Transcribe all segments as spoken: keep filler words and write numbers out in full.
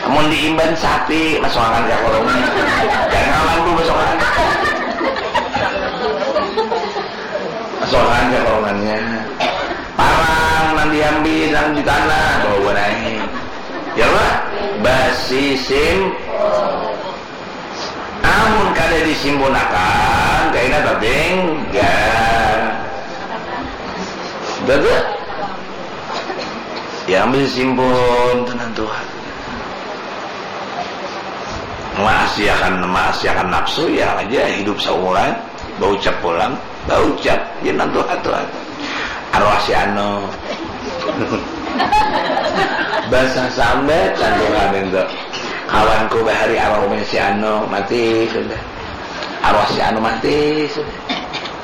Mun diimban sapi, masuakan ka korongnya. Jangan kawan tu masuakan. Masuakan ka korongnya. Parang nang diambil nang di tanah, bawa naik. Ya lah, basi sim. Amun kada disimpunakan, kaina tatinggal. Betul? Ya, ambil simpun, tenang Tuhan. Maasiakan, maasiakan nafsu, ya aja hidup saumuran, baucap pulang, baucap, ya tenang Tuhan, Tuhan. Arwah si anu. Basah sambat, tenang Tuhan itu. Kawanku bahari arwah umai si anu, mati sudah. Arwah si anu mati sudah.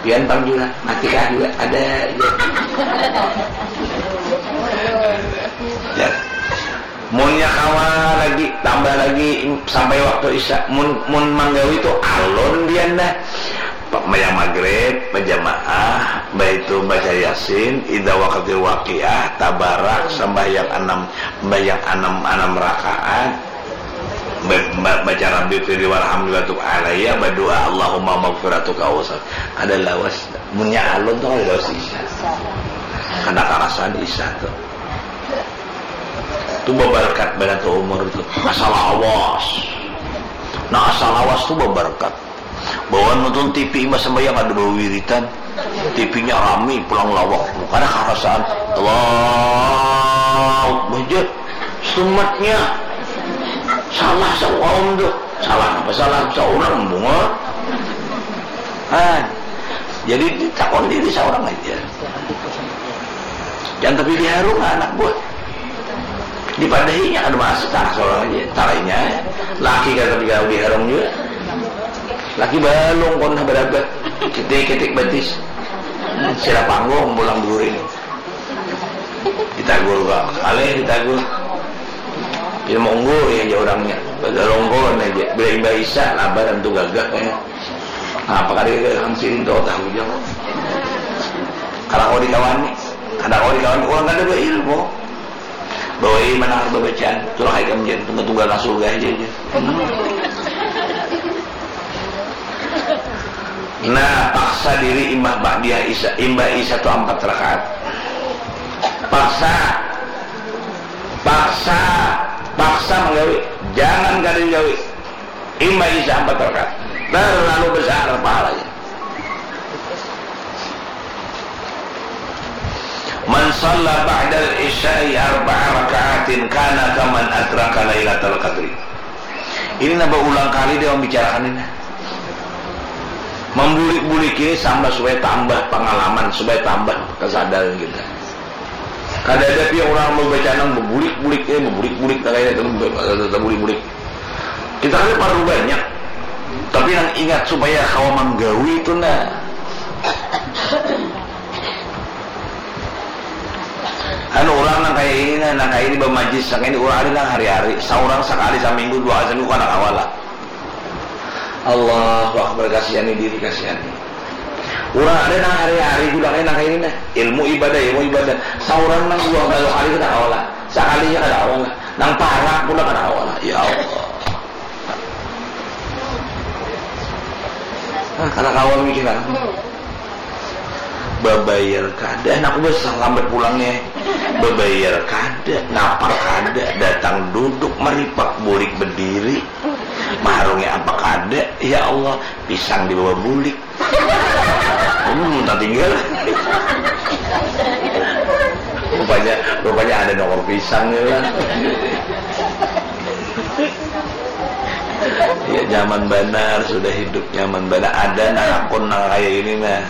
Pian pang jua, mati kah jua? Ada aja. Ya. Munnya kawa lagi, tambah lagi sampai waktu isya. Mun, mun manggawi tu alun pian dah. Sembahyang maghrib bajamaah, baitu baca yasin, idza waqatil waqiah, tabarak, sembahyang enam, sembahyang enam, enam rakaat, ba-, ba-, baca Rabbi firli warhamni wa tub alayya, badoa Allahumma maghfiratuka awsat. Kada lawas, munnya alun tu kada lawas isya. Kada karasan isya tu. Tu babarkat banar tu umur tu. Asa lawas. Nah, asa lawas tu babarkat. Bawa nonton T V imbah sembahyang ada bawiritan. T V-nya rami, pulang lawak. Kada karasaan. Allahu Akbar. Sumatnya. Salah saurang tu. Salah apa salah? Saurang bunga. Ah, jadi takon diri seorang aja. Jangan tapi diharung anak buah. Dipadahinya kada masuk, tah seorang aja. Tarainya laki kada tapi kalau diharung juga. Laki balung kon berapa? Ketik-ketik batis. Sila panggung pulang duri. Ditagur kah? Alih ditagur. Dia monggo ya aja orangnya. Badalongkon aja. Bila imbah isya, labaran tu gagah kayaknya. Nah, apa kada gagah siring tu tahu aja kok. Kada kau dikawani. Kada kau dikawani. Orang kada berilmu. Bawa mana harta bacaan. Itulah kayak kamu jadi tunggal-tunggal nang surga aja aja. Hmm. Nah, paksa diri imbah ba'diyah isya, imbah isya tu ampat rakaat. Paksa, paksa, paksa manggawi. Jangan kada digawi. Imbah isya ampat rakaat. Terlalu besar pahalanya. Man shalla ba'dal isya'i arba'a raka'atin kana kaman adraka lailatal qadri. Ini nah baulang kali dia membicarakan ini. Membulik-bulik ini sama supaya tambah pengalaman, supaya tambah kesadaran kita. Kada ada pia orang membaca nang membulik-bulik ini, membulik-bulik nang ini, membulik-bulik. Kita kada perlu banyak, tapi nang ingat supaya kawa manggawi itu nah. Anu orang nang kaya ini nah, nang kaya ini bamajlis, nang kaya ini orang ada nang hari-hari, saurang sakali saminggu, dua kali saminggu kada kawa lah. Allahu Akbar, kasihani diri, kasihani. Urang ada nang hari-hari jua kaya nang ini nah. Ilmu ibadah, ilmu ibadah. Saurang nang dua kali kada kawa lah. Sakali ja kada kawa lah. Nang parak pula kada kawa lah. Ya Allah. Ah, kada kawa mikiran. Babayar kada, anakku besar lambat pulangnya. Babayar kada, napa kada, datang duduk maripak bulik bediri. Maharungnya apa kada, ya Allah, pisang dibawa bulik. Hmm, tak tinggal. Rupanya, rupanya ada nongkrong pisang ya lah. Ya, nyaman banar, sudah hidup nyaman banar. Ada nah akun nang kaya ini nah.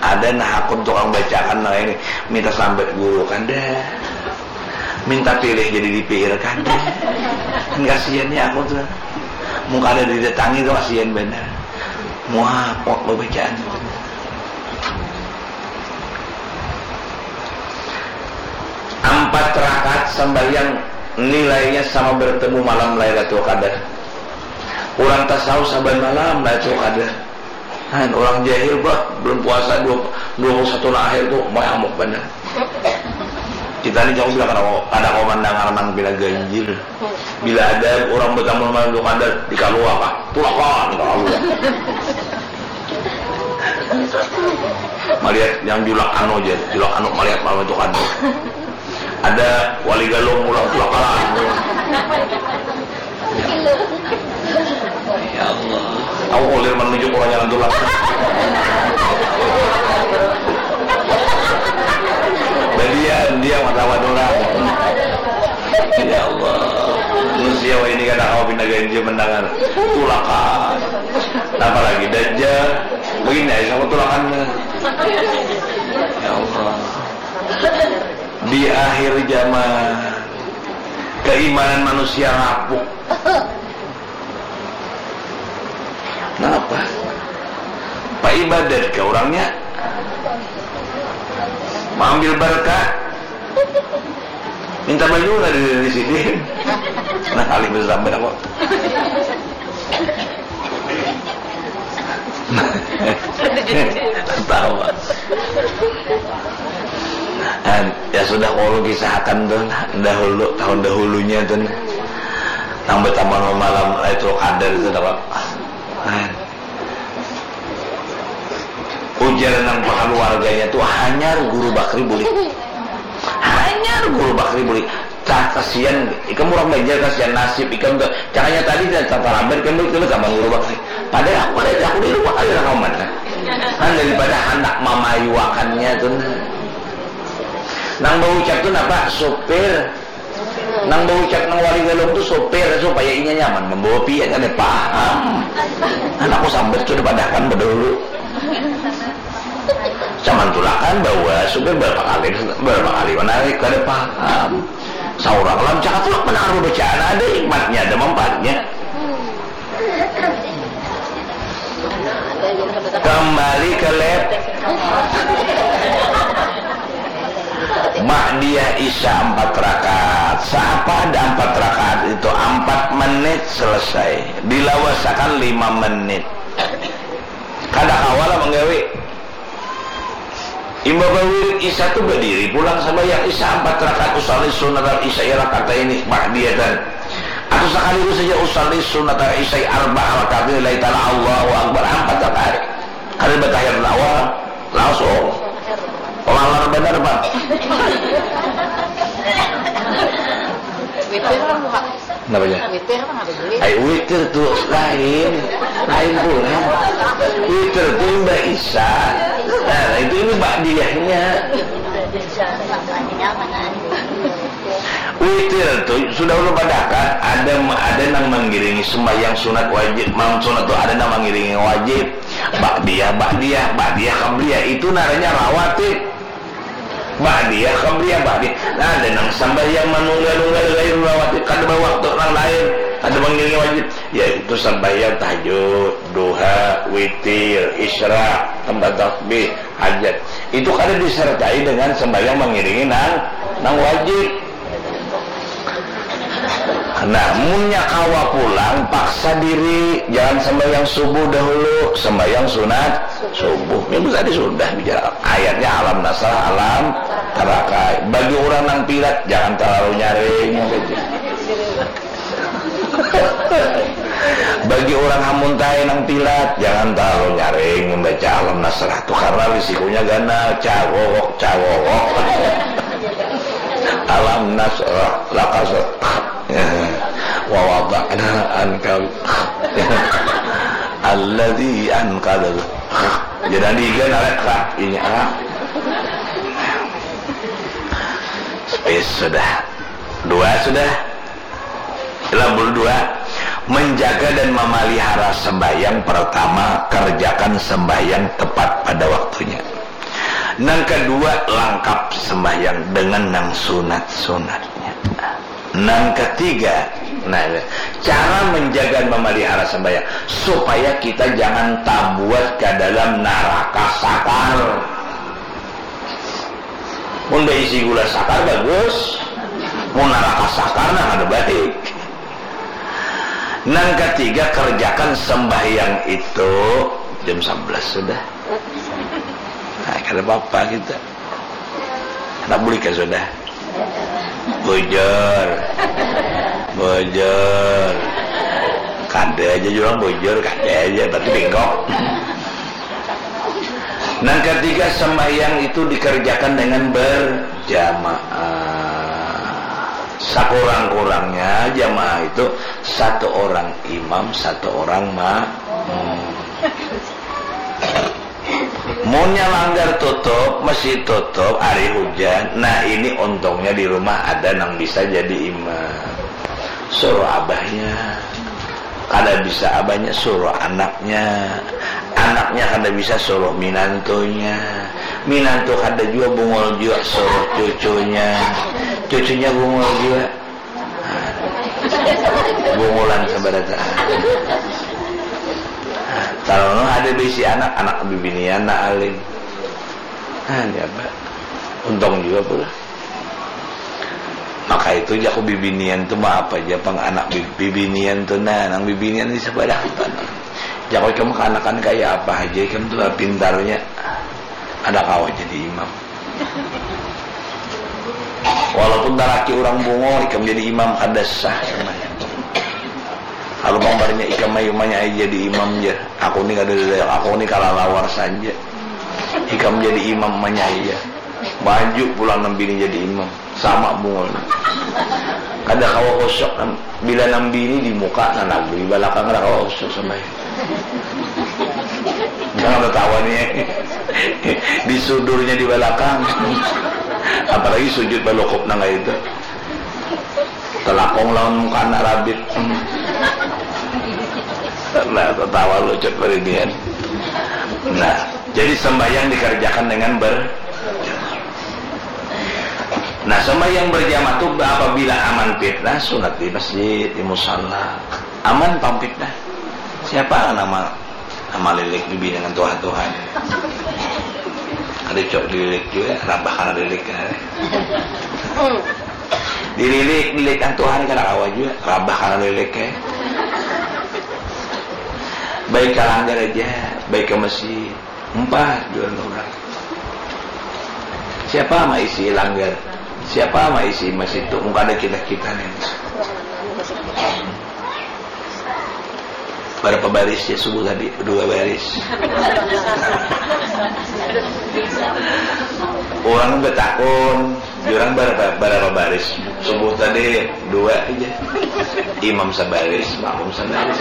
Ada nah akun tukang bacakan nang ini. Minta sambat guru kada. Minta pilih jadi D P R kada. Kan kasihan ya aku tuh. Mun kada didatangi tuh kasihan banar. Muapok babacaan. Ampat rakaat sambahyang nilainya sama bertemu malam Lailatul Qadar. Urang tasawuf saban malam Lailatul Qadar. Han, urang jahil bah, bulan puasa dua, dua puluh satu nang akhir tu, mayamuk banar. Kita ni jauh bila kada kawa, kada kawa mandangar nang pina ganjil. Bila ada urang batamu malam Lailatul Qadar, dikaluakan, tulakan, kaluakan. Malihat yang julak anu ja, julak anu malihat malam Lailatul Qadar. Ada wali Galuh pulang, tulakan. Ya Allah. Aku kulir menunjuk orang jalan tulak. Badian dia mata orang. Ya Allah. Manusia wahini kada kawa pina ganjil mendangar tulakan. Apalagi dajal. Begini aja sama tulakannya. Ya Allah. Di akhir zaman, keimanan manusia rapuh. Napa? Paibadat ka urangnya. Maambil barkah. Minta banyu lah di, di sini. Nah, kali itu sampai apa? Tawa. An, ya sudah, kalau kisahkan tuh, nah, dahulu, tahun dahulunya tuh, nah. Nang batamu malam Lailatul Qadar itu, nah, Pak. An. Ujar nang pakeluarganya tuh, "Hanyar Guru Bakri bulik. Hanyar Guru Bakri bulik." Cah kasian, ikam urang Banjar kasian nasib ikam tuh. Cakanya tadi dah tatalambat ikam bulik tuh gampang Guru Bakri. Padahal aku kada, aku di rumah kada rakaman, nah. Kan daripada handak mamayuakannya tuh, nah. Nang baucap tuh napa? Supir. Nang baucap nang wali Galuh tu supir supaya inya nyaman mambawa pian, kada paham. Anakku sambat sudah padahkan badahulu. Zaman tulakan bawa supir berapa kali, berapa kali menarik, kada paham. Saurang lam cakap tulak menang bacaan, ada hikmatnya, ada manfaatnya. Kembali ke lab. Ba'diyah Isya empat rakaat. Saapa ada empat rakaat itu? Empat menit selesai. Dilawasakan lima menit. Kada kawa lah manggawi. Imbah bawirid Isya tu badiri pulang sambahyang Isya ampat rakaat, usalli sunnatal isya'i rakataini ba'diyatan. Atau sakaligus saja usalli sunnatal isya'i arba'a rakaatin lillahi ta'ala, Allahu Akbar, ampat rakaat. Kada batahiyat awal, langsung. Lalar banar, Pak. Witir lah, Pak. Napa jar? Witir apa napa jar? Ai, witir tu lain, lain pulang. Witir tu imbah Isya. Nah, itu ini ba'diyahnya. Witir tu sudah ulun padahkan, ada, ada nang mangiringi sembahyang sunat wajib, malam sunat tu ada nang mangiringi wajib. Ba'diyah, ba'diyah, ba'diyah qabliyah, itu ngarannya rawatib. Ba'diyah, qabliyah, ba'diyah. Nah, ada nang sambahyang manunggal-nunggal gairul rawatib, kada bawaktu nang lain, kada mangiringi wajib, yaitu sambahyang tahajud, duha, witir, isyraq, tambah tasbih, hajat. Itu kada disertai dengan sambahyang mangiringi nang, nang wajib. Nah, munnya kawa pulang, paksa diri, jangan sambahyang subuh dahulu, sambahyang sunat subuh. Minggu tadi sudah bicara. Ayatnya alam nasrah, alam tarakai. Bagi orang nang pilat, jangan terlalu nyaring. Bagi orang hamuntai nang pilat, jangan terlalu nyaring membaca alam nasrah tu, karena risikonya ganal, cagogok, cagogok. Alam nasrah, laka syarah. Wa wada'na anka alladzi anqadha. Jadi, ganal, ini, ah. Space sudah. Dua sudah. Labul dua, menjaga dan memelihara sembahyang. Pertama, kerjakan sembahyang tepat pada waktunya. Nang kedua, langkap sembahyang dengan nang sunat-sunatnya. Nang ketiga, nah, cara menjaga dan memelihara sembahyang supaya kita jangan tabuat ke dalam naraka sakar. Mun baisi gula sakar bagus, mun naraka sakar nah kada baik. Nang ketiga, kerjakan sembahyang itu jam sebelas sudah. Nah, kada apa-apa kita. Anak bulik kan sudah. Bujur. Bujur. Kada aja jua bujur, kada aja, tapi bingkok. Nang ketiga, sembahyang itu dikerjakan dengan berjamaah. Sakurang-kurangnya jamaah itu satu orang imam, satu orang makmum. Munnya langgar tutup, masjid tutup, hari hujan, nah, ini untungnya di rumah ada nang bisa jadi imam. Suruh abahnya, kada bisa abahnya, suruh anaknya, anaknya kada bisa, suruh minantunya, minantu kada jua, bungul jua, suruh cucunya, cucunya bungul jua. Bungulan sabarataan. Kalau ada bisi anak, anak bibinian na alim. Nah, ya, Pak. Untung juga pula. Maka itu jaku bibinian tu mah apa aja pang anak bi- bibinian tu, nah, nang bibinian di sebelah tu. Jaku ikam keanakan kayak apa aja, ikam tu lah pintarnya. Ada kawa jadi imam. Walaupun taraki orang bungul, ikam jadi imam kada sah sama. Kalau pambarnya ikam mayu manyai jadi imam ja. Aku ni kada ada, aku ni kalalawar saja. Ikam jadi imam manyai ja. Maju pulang nang bini jadi imam. Sama bungul. Kada kawa kosok nang Bila nang bini di muka, nang lagu di balakang, kada kawa usuk sampai. Jangan tertawa nih. Di sudurnya di balakang. Apalagi sujud balukup nang kayak itu. Telakong lawan muka anak rabit. Nah, tertawa lucut perinian. Nah, jadi sembahyang dikerjakan dengan ber Nah, sembahyang berjamaah tu apabila aman fitnah, sunat di masjid, di musala. Aman pang fitnah. Siapa nama nama lilik bibi dengan tuhan-tuhan? Ada cok dililik juga, rabah karena lilik kan. Dililik, lilik kan Tuhan kan kawa juga, rabah karena lilik ya. Baik ke langgar aja, baik ke masjid. Empat jual orang. Siapa ama isi langgar? Siapa ama isi masjid tu? Muka ada kita kita nih. Berapa baris ya subuh tadi? Dua baris. Orang betakun, orang berapa, berapa baris subuh tadi? Dua aja. Imam sabaris, makmum sabaris.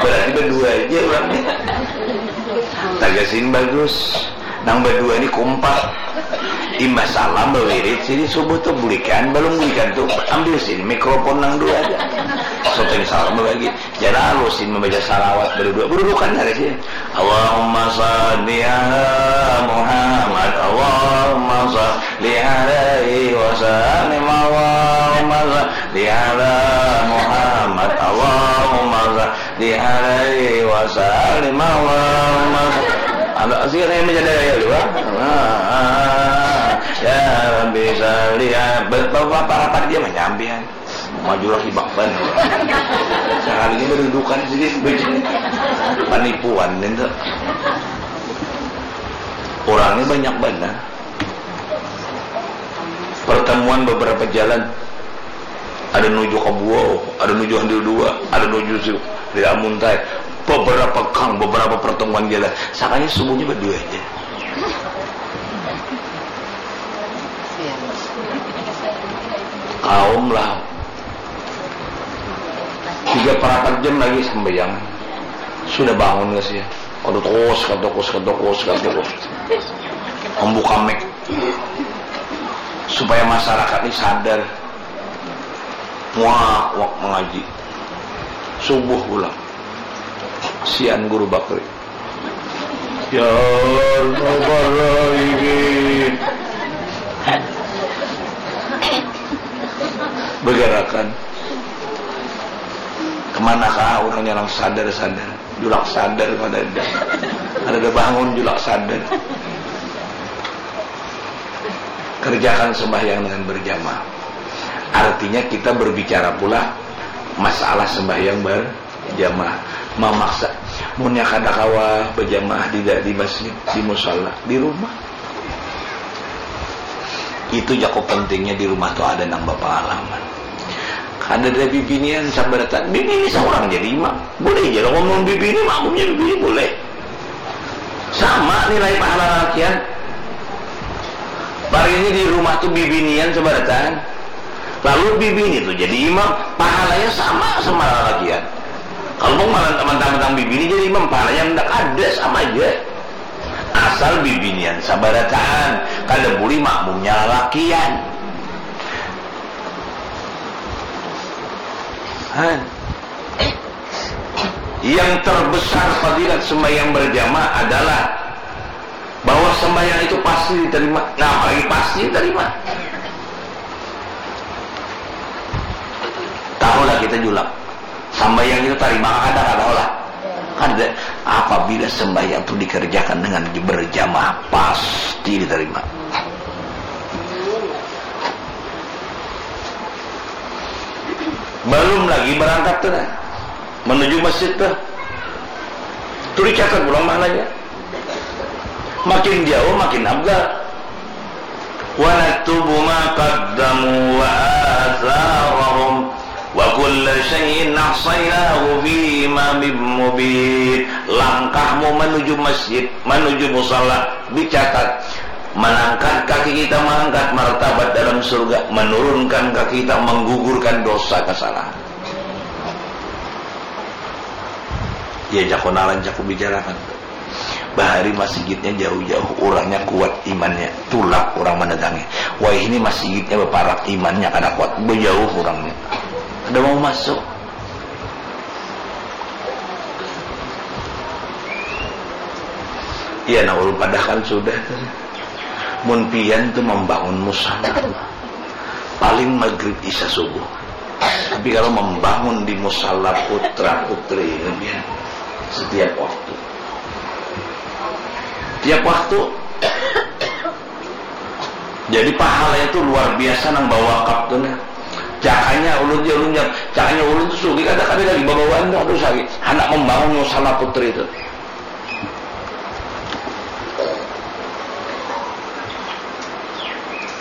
Berarti berdua aja orang nih. Tagasin bagus. Nang berdua ini kompak. Imbah salam bawirid sini subuh tuh bulikan, belum bulikan tuh ambil sini mikrofon nang dua aja. Soto ini salam bagi. Jangan halusin membaca salawat berdua. Berdudukan ada sini. Allahumma salli ala Muhammad. Allahumma salli alaihi wa sallim. Allahumma salli ala Muhammad. Allahumma salli alaihi wa sallim. Allahumma salli. Ada sih yang menjadi daya dua. Ah, ya Rabbi salli. Bapak-bapak dia menyampian. Maju lagi bakban. Sekalinya berdudukan sedikit. Penipuan itu. Orangnya banyak banget. Pertemuan beberapa jalan. Ada nuju ke Buau, ada nuju Handil dua, ada nuju si di Amuntai. Beberapa kang, beberapa pertemuan jalan. Sakanya subuhnya berdua aja. Kaum lah. Tiga perapat jam lagi sembahyang. Sudah bangun gak sih? Aduh, terus, kata terus, kata terus, kata terus. Membuka mic. Supaya masyarakat ini sadar. Wah, wak mengaji. Subuh pulang. Sian guru Bakri. Ya Allah, ini. Bergerakan. Kemanakah orangnya orang sadar-sadar? Julak sadar mana ada. Ada ada bangun julak sadar. Kerjakan sembahyang dengan berjamaah. Artinya kita berbicara pula masalah sembahyang ber jamaah, memaksa. Munnya kada kawa berjamaah di, di masjid, di musala, di rumah. Itu jaku pentingnya di rumah tu ada nang bapangalaman. Kada ada bibinian sabarataan. Bibini seorang jadi imam. Boleh aja lah ngomong bibini, makmumnya bibini boleh. Sama nilai pahala lalakian. Parinya di rumah tu bibinian sabarataan. Lalu bibini tu jadi imam, pahalanya sama sama lalakian. Kalau mau malah teman-teman bibini jadi imam, pahalanya ndak ada, sama aja. Asal bibinian sabarataan, kada boleh makmumnya lalakian. Han. Yang terbesar fadilat sembahyang berjamaah adalah bahwa sembahyang itu pasti diterima. Nah, apalagi pasti diterima. Tahulah kita julak. Sembahyang itu terima kada, kada tahulah. Kada. Apabila sembahyang itu dikerjakan dengan berjamaah, pasti diterima. Belum lagi berangkat tu nah, menuju masjid tu. Tu dicatat pulang pahalanya. Makin jauh makin afdal. Wa naktubu ma qaddamu wa atharahum wa kulla syai'in ahsaynahu fi imamin mubin. Langkahmu menuju masjid, menuju musala dicatat. Menangkat kaki kita, mengangkat martabat dalam surga, menurunkan kaki kita, menggugurkan dosa kesalahan. Ya, jaku nalan, jaku bicarakan. Bahari masjidnya jauh-jauh, orangnya kuat imannya, tulak orang mendatangi. Wah, ini masjidnya baparak, imannya kada kuat, bejauh orangnya. Ada mau masuk. Iya, nah, ulun padahkan sudah. Mun pian tu membangun musala, paling maghrib, isya, subuh. Tapi kalau membangun di musala putra putri ini, pian, setiap waktu. Tiap waktu. Jadi pahalanya tu luar biasa nang bawakaf tu nah. Cakanya ulun ja, ulun ja, cakanya ulun tu sugih kada, kada lagi babawaan tu, aduh, sakit. Handak membangun musala putri tu.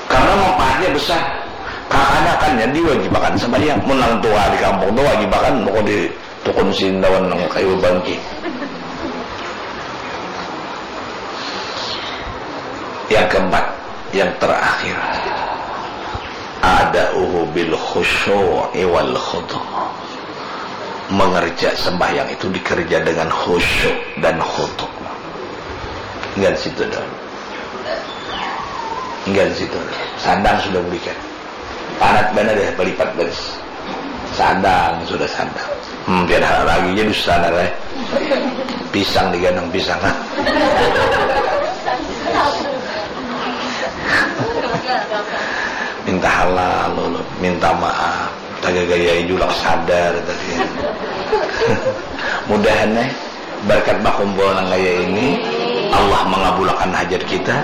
Karena manfaatnya besar. Kakanakannya diwajibakan sembahyang. Mun nang tua di kampung tu wajibakan, pokok di tukun sindawan nang kayu bangki. Yang keempat, yang terakhir, ada'uhu bil khusyu'i wal khudu'. Mengerja sembahyang itu dikerja dengan khusyuk dan khudu'. Enggak situ dong. Enggak situ dong. Sandang sudah berikan. Parat banar ya, balipat baris. Sandang, sudah sandang. Hmm, tiada hal lagi ja dusta nah, eh. Pisang diganang pisang. Minta halal, ulun. Minta maaf. Tagagayai julak sadar tadi. Mudahan, eh. Berkat bakumpul nang kaya ini, Allah mengabulakan hajat kita,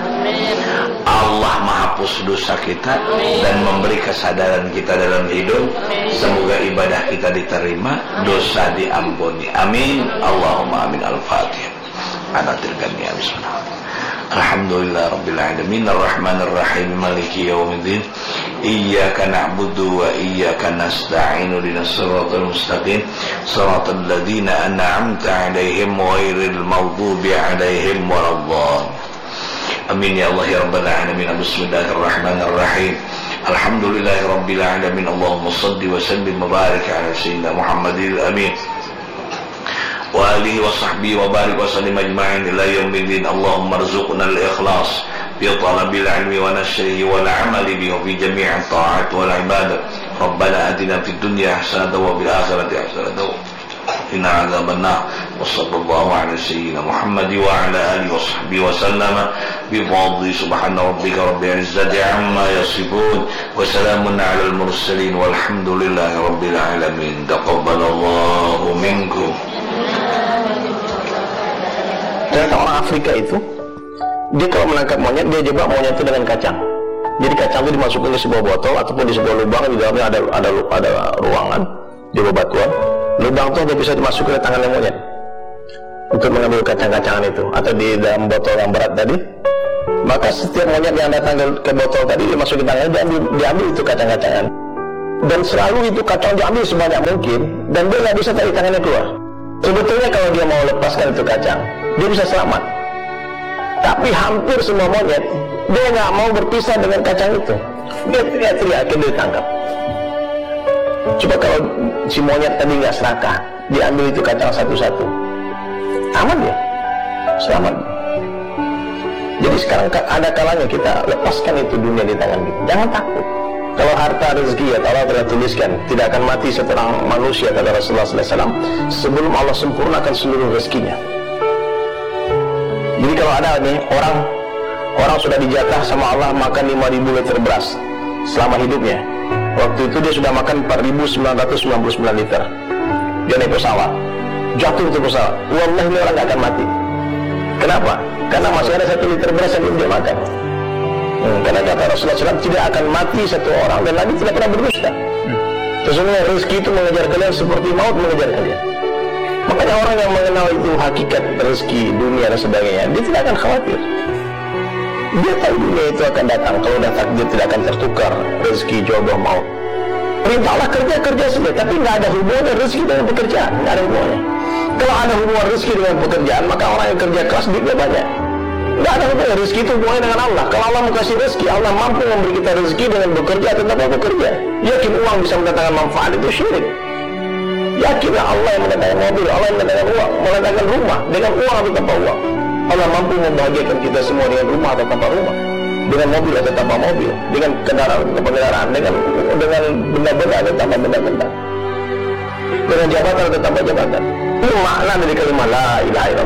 Allah mahapus dosa kita, dan memberi kesadaran kita dalam hidup. Semoga ibadah kita diterima, dosa diampuni. Amin. Allahumma amin. Al-Fatihah. Anatil kami, bismillah. Alhamdulillah Rabbil Alamin. Ar-Rahmanir Rahim. Maliki Yawmiddin. Iyyaka na'budu wa iyyaka nasta'in. Ihdinas siratal mustaqim. Siratal ladzina an'amta 'alaihim ghairil maghdubi 'alaihim waladdallin. Amin ya Allah ya Rabbal Alamin. Bismillahirrahmanirrahim. Alhamdulillahi Rabbil Alamin. Allahumma salli wa sallim wa barik ala Sayyidina Muhammadil Amin. Wa alihi wa sahbihi wa barik wa sallim ajma'in ila yaumiddin. Allahumma rzuqna al-ikhlas fi talabil ilmi wa nashrihi wal amali bihi fi jami'at ta'at wal ibadat. Rabbana atina fid dunya hasanatan wa fil akhirati hasanatan wa qina adzabannar. Wa sallallahu ala sayyidina Muhammad wa ala alihi wa sahbihi wa sallama bi fadli subhana rabbika rabbil izzati amma yasifun. Wa salamun alal mursalin walhamdulillahi rabbil alamin. Taqabbalallahu minkum. Ternyata orang Afrika itu, dia kalau menangkap monyet, dia jebak monyet itu dengan kacang. Jadi kacang itu dimasukkan ke sebuah botol ataupun di sebuah lubang, di dalamnya ada ada ada ruangan, di bebatuan. Lubang itu hanya bisa dimasukkan oleh tangannya monyet untuk mengambil kacang-kacangan itu, atau di dalam botol yang berat tadi. Maka setiap monyet yang datang ke, ke botol tadi dimasukin tangannya, diambil, diambil itu kacang-kacangan. Dan selalu itu kacang diambil sebanyak mungkin, dan dia nggak bisa tarik tangannya keluar. Sebetulnya kalau dia mau lepaskan itu kacang, dia bisa selamat. Tapi hampir semua monyet, dia nggak mau berpisah dengan kacang itu. Dia teriak-teriak, akhirnya ditangkap. Coba kalau si monyet tadi nggak serakah, diambil itu kacang satu-satu, aman dia, selamat. Jadi sekarang ka-, ada kalanya kita lepaskan itu dunia di tangan kita. Jangan takut. Kalau harta rezeki ya Allah telah tuliskan, tidak akan mati seorang manusia, kata Rasulullah sallallahu alaihi wasallam, sebelum Allah sempurnakan seluruh rezekinya. Jadi kalau ada nih orang, orang sudah dijatah sama Allah makan lima ribu liter beras selama hidupnya. Waktu itu dia sudah makan empat ribu sembilan ratus sembilan puluh sembilan liter. Dia naik pesawat, jatuh itu pesawat. Wallahi, ini orang nggak akan mati. Kenapa? Karena masih ada satu liter beras yang belum dia makan. Hmm, karena kata Rasulullah sallallahu alaihi wasallam, tidak akan mati satu orang dan Nabi tidak pernah berdusta. Sesungguhnya rezeki itu mengejar kalian seperti maut mengejar kalian. Makanya orang yang mengenal itu hakikat rezeki, dunia dan sebagainya, dia tidak akan khawatir. Dia tahu dunia itu akan datang, kalau udah takdir tidak akan tertukar rezeki, jodoh, maut. Perintah Allah kerja, kerja saja, tapi nggak ada hubungannya rezeki dengan pekerjaan, nggak ada hubungannya. Kalau ada hubungan rezeki dengan pekerjaan, maka orang yang kerja keras duitnya banyak. Nggak ada hubungannya rezeki itu hubungannya dengan Allah. Kalau Allah mau kasih rezeki, Allah mampu memberi kita rezeki dengan bekerja atau tanpa bekerja. Yakin uang bisa mendatangkan manfaat itu syirik. Yakinlah Allah yang mendatangkan mobil, Allah yang mendatangkan uang, mendatangkan rumah dengan uang atau tanpa uang. Allah mampu membahagiakan kita semua dengan rumah atau tanpa rumah, dengan mobil atau tanpa mobil, dengan kendaraan atau tanpa kendaraan, dengan dengan benda-benda atau tanpa benda-benda, dengan jabatan atau tanpa jabatan. Ini makna dari kalimat la ilaha illallah.